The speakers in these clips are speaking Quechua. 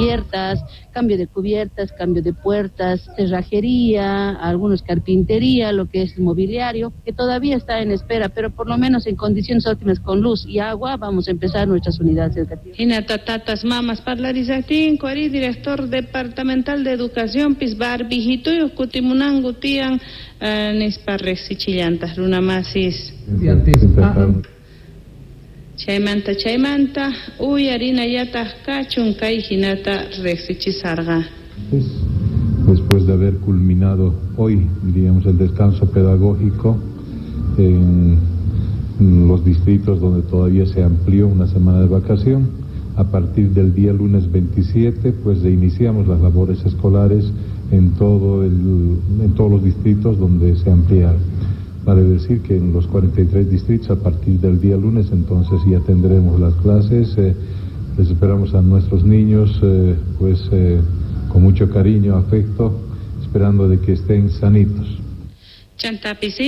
Cubiertas, cambio de cubiertas, cambio de puertas, cerrajería, algunos carpintería, lo que es mobiliario, que todavía está en espera, pero por lo menos en condiciones óptimas con luz y agua vamos a empezar nuestras unidades educativas. Hinata tatas mamas parlarisaqtinku ari director departamental de educación pis barbijituyuq kutimunanku tiyan nispa riqsichillantaq runamasis. Chaymanta chaymanta uyarinallataq kachun kay hinata riqsichisarqa. Después de haber culminado hoy, diríamos, el descanso pedagógico en los distritos donde todavía se amplió una semana de vacación, a partir del día lunes 27, pues iniciamos las labores escolares en todos los distritos donde se ampliaron. Vale decir que en los 43 distritos, a partir del día lunes, entonces ya tendremos las clases. Les esperamos a nuestros niños, pues con mucho cariño, afecto, esperando de que estén sanitos. Chantapis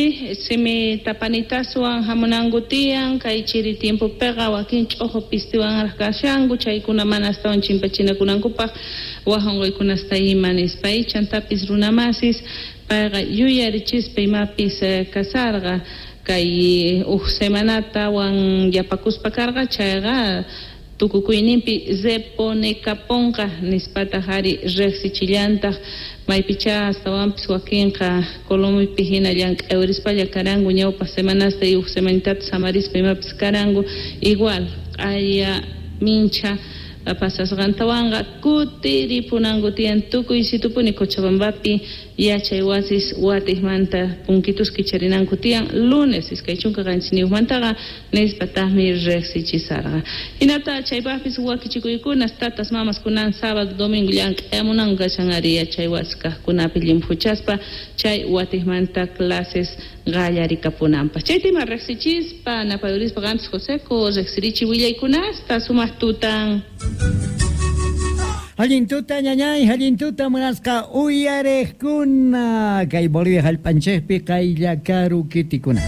simi tapanitaswan hamunanku tiyan kay chiri tiempopiqa wakin ch'uqu pistiwanraq kashanku chaykuna mana astawan chimpachinakunankupaq wak unquykunasta ima nispa chantapis runamasis payqa yuyarichispa imapis kasarqa kay huk semanatawan yapakuspa karqa chayqa tukukuyninpi reponekaponqa nispataq ari riqsichillantaq maypichá astawanpis wakinqa Colomipi hina llank'ayurispalla karanku ñawpaq semanasta y huk semanitata samarispa imapis karanku igual q'aya mincha pasasqantawanqa kutiripunanku tiyan tukuy situpuni Cochabambapi yachay wasis watiqmanta punkitus kicharinanku tiyan lunes 27mantaqa nispataqmi riqsichisarqa. Hinata chaypaqpis wakichikuykunas tatas mamas kunan sábado domingo llank'ayamunanku kashan ari yachay wasi kaqkunapi llimphuchaspa chay watiqmanta clases qallarikapunanpaq. Chaytima riqsichispa napayurispa qampis Joseco riqsirichi willaykunasta sumaq tutan. Allin tuta ñañay, allin tuta munasqa uyariqkuna kay Bolivia hallp'anchikpi qaylla karu kitikuna.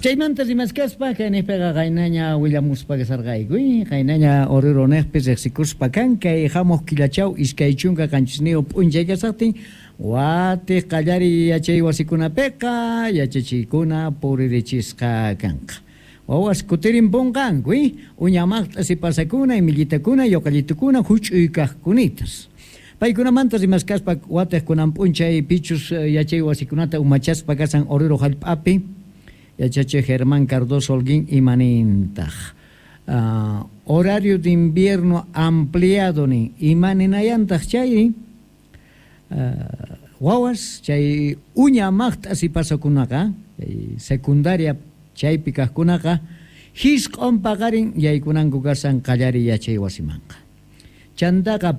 Chaymanta rimaskaspa kayniqpiqa qaynaña willamuspa kasarqayku, qaynaña Oruro niqpi riqsikuspa kan kay hamuq killachaw 27 p'unchay kasaqtin watiq qallariy yachay wasikunapiqa yachachiykuna puririchisqa kanqa. Wawas kutirimpunqanku, uñamaqt'a sipasakuna, imillitakuna, yoqallitukuna, huch'uy kaqkunitas. Paykunamanta rimaskaspa watiq kunan p'unchay pichus yachay wasikunata umachaspa kasan Oruro hallp'api yachachiq Germán Cardoso Holguín imanintaq. Horario de invierno ampliado nin imaninayantaq chay wawas chay uña maqt'a sipasakunaqa chay secundaria chaypi kaqkunaqa hisq'un paqarin yaykunanku kasan qallariy yachay wasimanqa. Chantaqa